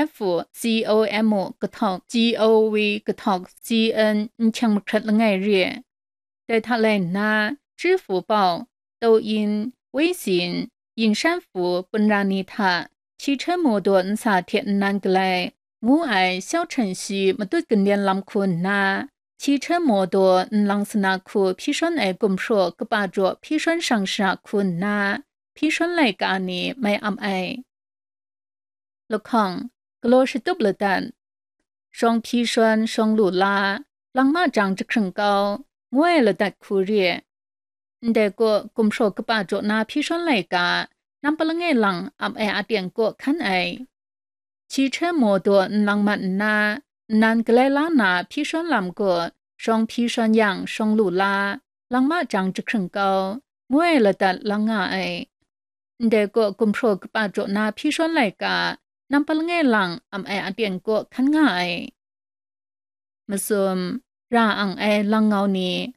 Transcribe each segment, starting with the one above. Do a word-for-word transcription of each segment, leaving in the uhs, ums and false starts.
F U C O M U kahtawk G O V kahtawk C N n hkyang mahkrat langai re. Dai hta lai nna, 支付宝, Douyin, Weixin, Yinshan Fu, Punra ni hta, 汽车 motor ntsa hte nnan galai, ngu ai 消程序 matut kanlen lam hku nna, 汽车 motor nlang sana hku hpyi shawn ai gumhpraw kaba jaw hpyi shawn shang shara hku nna, hpyi shawn laika ni mai am ai. Lahkawng, galaw shatup ladat, shawng hpyi shawn, shawng lu la, lang ma jang jahkring kau, ngu ai ladat hku re. Ndai kaw, gumhpraw kaba jaw na hpyi shawn laika, nampa langai lang ap ai aten kaw hkan ai. 汽车 motor nlang mat nna, nnan galai la na hpyi shawn lam gaw, shawng hpyi shawn yang shawng lu la, lang ma jang jahkring kau, ngu ai ladat lang nga ai. Ndai kaw, gumhpraw kaba jaw na hpyi shawn laika, nampa langai lang am ai aten kaw hkan nga ai. Masum, ra ang ai lang ngau ni.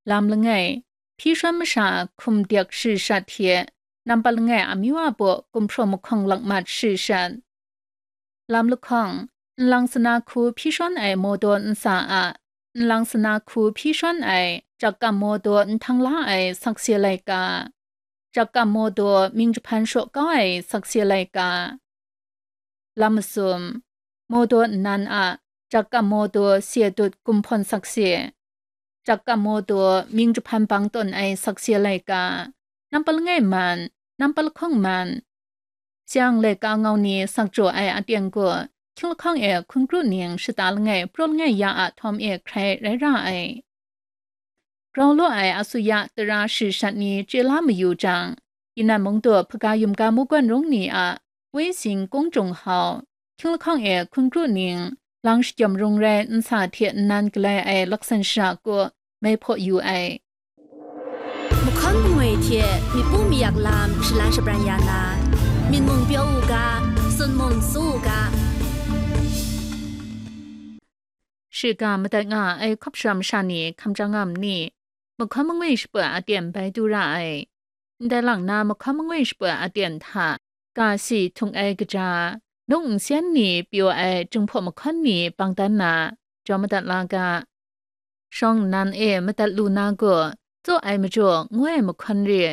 Lam langai, hpyi shawn masha hkum dik shri shat hte, nampa langai amyu a baw gumhpraw mahkawng lakmat shri shat. Lam lahkawng, nlang sana hku hpyi shawn ai motor ntsa a, nlang sana hku hpyi shawn ai jakam motor nhtang la ai sakse laika, jakam motor mying jahpan shaw kau ai sakse laika. Lam masum, motor nnan a jakam motor se dut gumhpawn sakse, jakam motor mying jahpan bang tawn ai sakse laika, nampa langai man, nampa lahkawng man, Seng laika ngau ni sak jaw ai aten gaw, hkying lahkawng e hkun kru ning shata langai, praw langai ya a htawm e hkrai rai ra ai. Grau law ai asuya tara shri shat ni chye la mayu jang, Yinan Mungdaw hpaga yumga mungkan rung ni a Wei Sin Kung Jung Hau, hkying lahkawng e hkun kru ning, lang shakyawm rung rai nsa hte nnan galai ai laksan shara kaw mai hpaw yu ai. Mahkawn mangwi hte myit pu mayak lam shalan shabran ya na, myit mung pyaw u ga, tsun mung tsu u ga. Shiga madat nga ai hkawp shara masha ni hkam chyang nga ma ni? Mahkawn mangwi shaput aten bai du ra ai. Ndai lang na mahkawn mangwi shaput aten hta, ga si htung ai kaja, nung nsen ni pyaw ai Jinghpaw mahkawn ni bang dan na, jaw madat la ga. Shawng nnan e madat lu na gaw, tsaw ai majaw ngu ai mahkawn re,